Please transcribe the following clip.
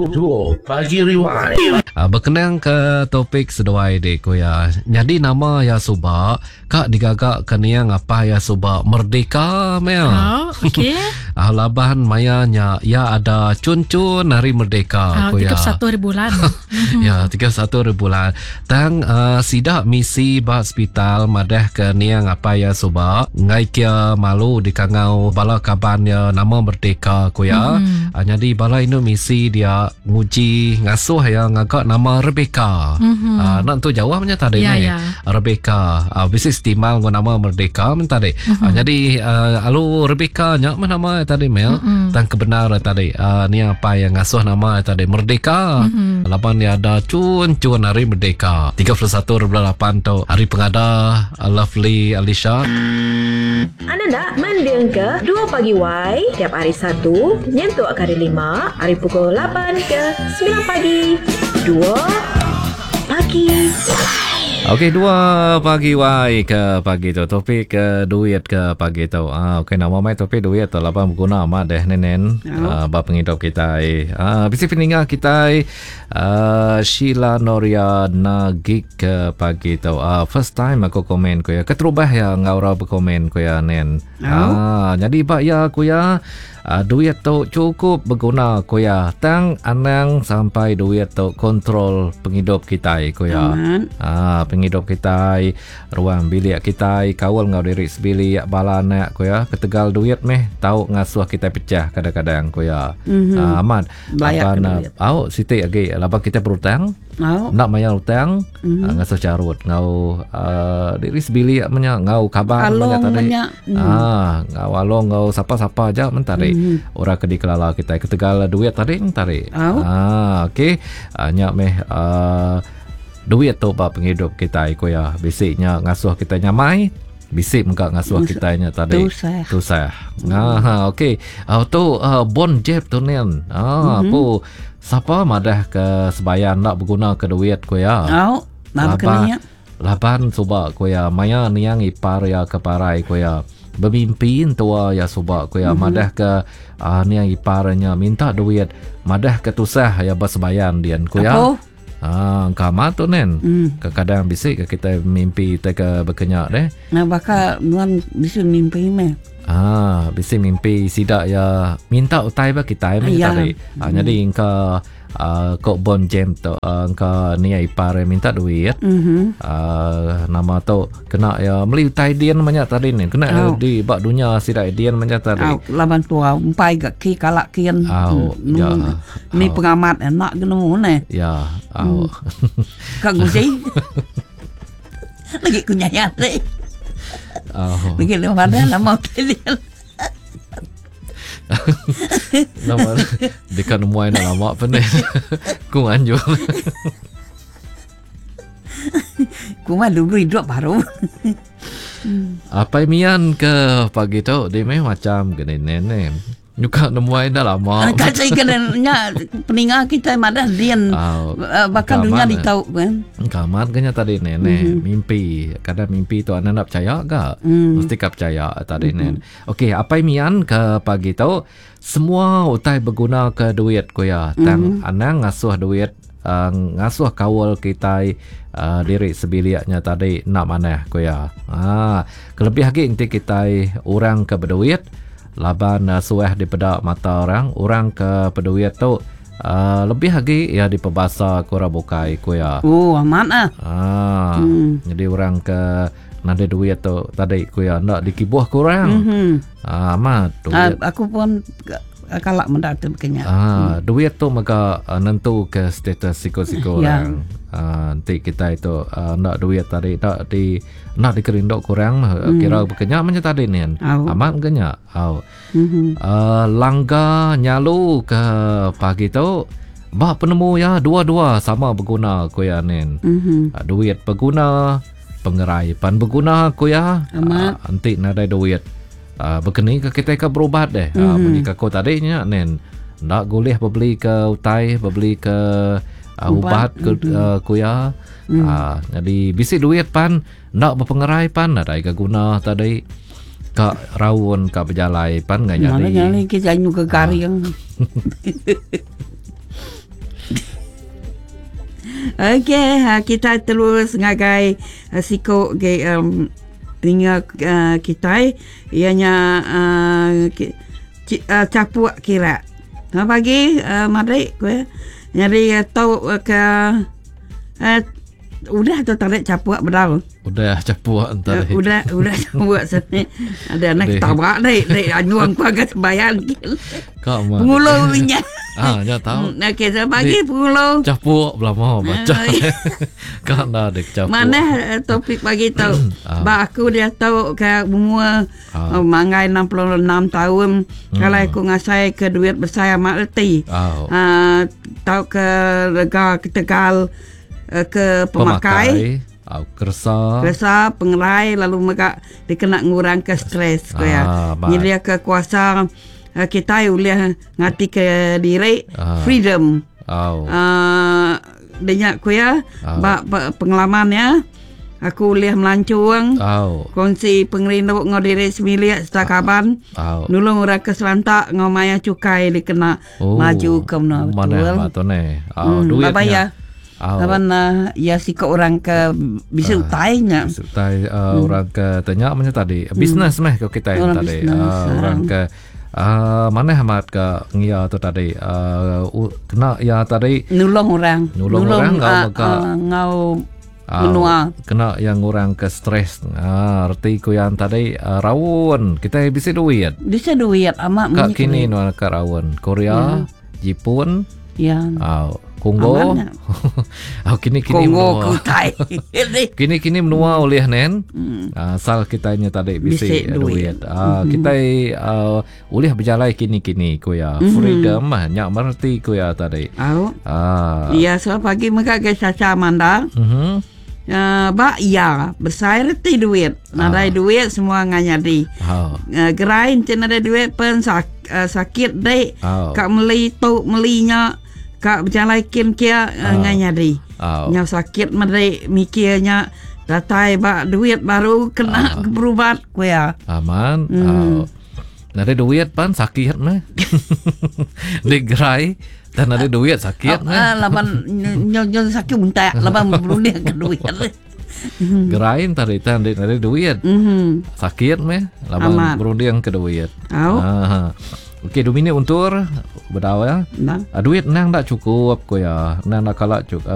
Dua Pagi Rewind. Bekenang ke topik seduai dik ku iya. Nyadi nama iya suba ka digaga ke niang apai iya suba Merdeka meh iya. Oh, okey. Laban maya nya iya ada chun-chun hari merdeka ku iya. 31 hari bulan. Ya, 31 hari bulan. Tang uh, sida misi ba sepital madah ke niang apai iya suba enggai kia malu dikangau bala kaban iya nama merdeka ku iya. Mm-hmm. Uh, nyadi bala indu misi dia nguji ngasuh iya ngaga nama Rebecca. Mm-hmm. Uh, nak tu jauh punya tadi yeah, ni. Yeah. Rebecca uh, bisi setimbang dengan nama merdeka men tadi. Mm-hmm. Uh, jadi uh, alu Rebecca nya mah nama tadi mel. Mm-hmm. Tang kebenar tadi uh, niang apai yang ngasuh nama tadi merdeka. Mm-hmm. Laban iya ada chun-chun hari merdeka. 31.8 tu hari pengada Lovely Alisha. Anda enda mendingka Dua Pagi Wai tiap hari Satu nyentuk ke Hari Lima ari pukul lapan ke semilan pagi. Dua Pagi Wai. Okey dua pagi wai ke pagi tu topik ke duit ke pagi tu. Ah okey nama mai topik duit tu laban beguna amat deh nenen. Oh. Uh, ba pengidup kitai. Uh, bisi peninga kitai uh, Sheila Noria Nagik ke pagi tu. Uh, first time aku komen ku ya. Keterubah ya enggau orang berkomen ku ya nen. Oh. Uh, jadi ba ya ku ya uh, duit tu cukup beguna ku ya. Tang anang sampai duit tu kontrol pengidup kitai ku ya. Uh, pengidup kitai Ruang bilik kitai kaul enggau diri sebilik bala anak ku iya ketegal duit meh tau ngasuh kitai pecah kadang-kadang ku iya. Mm -hmm. uh, amat laban au siti agi laban kitai berutang. Au. Enda mayar utang mm -hmm. uh, ngasuh carut enggau uh, diri sebilik menya enggau kaban menya tadi. Menya. Mm. Ah, enggau along enggau sapa-sapa aja men tadi. Mm -hmm. Orang ke dikelala kitai ketegal duit tadi men tadi. Au. Ah, okey. Uh, nya meh uh, Duit tu ba pengidup kitai ku iya bisi nya ngasuh kitai nyamai bisi mega ngasuh kitai nya tadi tusah. Tusah. Ha okey. Uh, tu uh, Bon Jeb tu nin. Ha mm-hmm. pu sapa madah ke sebayan enda beguna ke duit ku iya. Au, laban laban suba ku iya maya niang ipar iya ke parai ku iya. Bemimpi entua iya suba ku iya mm-hmm. madah ke uh, niang ipar nya minta duit madah ke tusah iya ba sebayan dian ku iya. Apo? Ah, engka amat tu nen. Mm. Kadang bisi ke kita mimpi kita ke bekenya deh. Nah, baka nuan bisi mimpi meh. Ah, bisi mimpi sida ya minta utai ba kita meh ya. tadi. Ah, mm. jadi engka uh, kok bon jam tu uh, engka ni ipar minta duit. Mm -hmm. uh, nama tu Kena iya meli utai din menya tadi ni. Kena oh. di ba dunya sida din menya tadi. Au laban tua empai ga ki kala kin. Au ya. Ni pengamat enak ke nemu ne. Ya. Au. Hmm. Ka nguji. Lagi ku nyayat deh. Oh. Lagi le mana lama utai dia. Nama dekat nemu ai lama pun ni. Ku anjur. Kuma dulu hidup baru. Apai Mian ke pagi tu di meh macam ke nene. Nyuka nemuai dah lama. Kan saya kena nya peninga kita madah din uh, bakal dunia ditau kan. Kamat kenya tadi nene mm-hmm. mimpi. Kadang mimpi tu anak nak percaya ga? Mm. Mesti ka percaya tadi mm-hmm. nen. Okey, Apai Mian ke pagi tu semua utai beguna ke duit ku iya. Tang mm-hmm. anang ngasuh duit ngasuh kaul kitai diri sebilik nya tadi enda manah ku iya. Haa kelebih agi enti kitai orang ke beduit laban suah dipeda mata orang, orang ke beduit tu aaa lebih agi iya dipebasa ke orang bukai ku iya. Oh amat ah. Haa nyadi orang ke nadai duit tu tadi ku iya enda dikibuh ke orang. Haa amat duit. Aku pun Kala meda tu baka nya. Ah, duit tu mega uh, nentu ke status siku-siku Ya. orang. Ah, enti kitai tu uh, enda duit tadi enda di enda dikerindu ke orang mm. kira baka nya menya tadi nin. Au. Amat baka nya. Au. Mhm. Uh, langga nyalu ke pagi tu ba penemu iya dua-dua sama beguna ku iya nin. Mhm. Uh, duit beguna, pengerai pan beguna ku iya. Amat. Uh, enti nadai duit Uh, bekeni ke kitai ke berubat deh. Mm -hmm. Uh, munyi ke aku tadi nya nen. Enda gulih bebeli ke utai, bebeli ke uh, ubat, ubat ke mm -hmm. uh, kuya. Mm. Uh, jadi bisi duit pan enda bepengerai pan nadai ke guna tadi. Ka raun ka bejalai pan ngai nyadi. Mana nyadi kita nyu ke garing. Uh. Okey, ha, kita terus ngagai uh, siku ge um, tinggal uh, kita ianya uh, ki, ki, uh, capuk kira. Selamat pagi uh, madik ku. Jadi uh, tau uh, ke uh, udah tu tarik capuk bedau. Udah capuk entar. Uh, udah udah capuk sini. Ada anak tabak dek dek anyuang ku agak sembahyang. Kak mah. Pengulu nya. Ah, nya tahu. Hmm, okey, selamat pagi pengulu. Capuk belama baca. Kak dah dek capuk. Mana eh, topik pagi tu? Ah. Ba aku dia tahu ke umur Ah. oh, manggai 66 tahun. Kalau aku ngasai ke duit besar amat reti. Ah. Ah, tahu ke rega ke Tegal eh, ke pemakai. Ah, kersa. Keresa pengerai lalu mega dikena ngurang ke stres ko ya. Ah, ba- Nyedia ke kuasa eh, kita boleh ngati ke diri Ah. freedom. Au. Uh, denyak ku ya Ah. ba, ba pengalaman ya. Aku boleh melancong Au. kongsi pengerindu ngau diri semilik serta kaban. Au. Nulung orang ke selantak ngau maya cukai dikena Oh, maju ke menua Mana betul. mak tu ni? Au, Hmm, duitnya. bye-bye ya. Au. Laban uh, ya sikok orang ke bisa utainya. Utai uh, orang ke tanya macam tadi. Bisnes meh ke kita yang Orang tadi. bisnes, Uh, ah. orang ke uh, mana amat ke ngia tu tadi. Uh, kena ya tadi Nulung orang. Nulung orang, ngau ah, mega. ah, ngau Ah, menua. Kena yang orang ke stres. Ah, reti ku yang tadi uh, rawon. Kita bisa duit. Bisa duit amat Kak munyi kini duit. nuan ke rawon. Korea, Jepun, Ya. ah, Kongo. Aman, Ah, kini kini Kongo menua. kutai. Kini kini menua oleh nen. Asal kita nya tadi bisi Bisi duit. duit. Ah, kita uh, boleh berjalan kini kini ku ya. Freedom ah, nyak merti ku ya tadi. Au. Ah. Ya, so pagi mereka ke Caca Manda. Mhm. Uh, bak ya, besar reti duit. Nadai duit semua nganyadi. Ha. Uh, gerai encik nadai duit pen sak, uh, sakit dek. Au. Kak meli tu melinya. Kak berjalan kin kia uh, nganyadi. Au. Nyau sakit medek mikirnya datai bak duit baru kena berubat ku ya. Aman. Hmm. Nada duit pan sakit meh. Di gerai dan ada duit sakit meh. Ah, laban nyo nyo sakit untak laban berunding ke duit. Gerai tadi tan di nada duit. Mhm. Sakit meh laban Aman. berunding ke duit. Au. Ah. Okey, dua minit untur berdawa ya. Nah. Ah, duit nang tak cukup ko ya. Nang nak kalak cukup.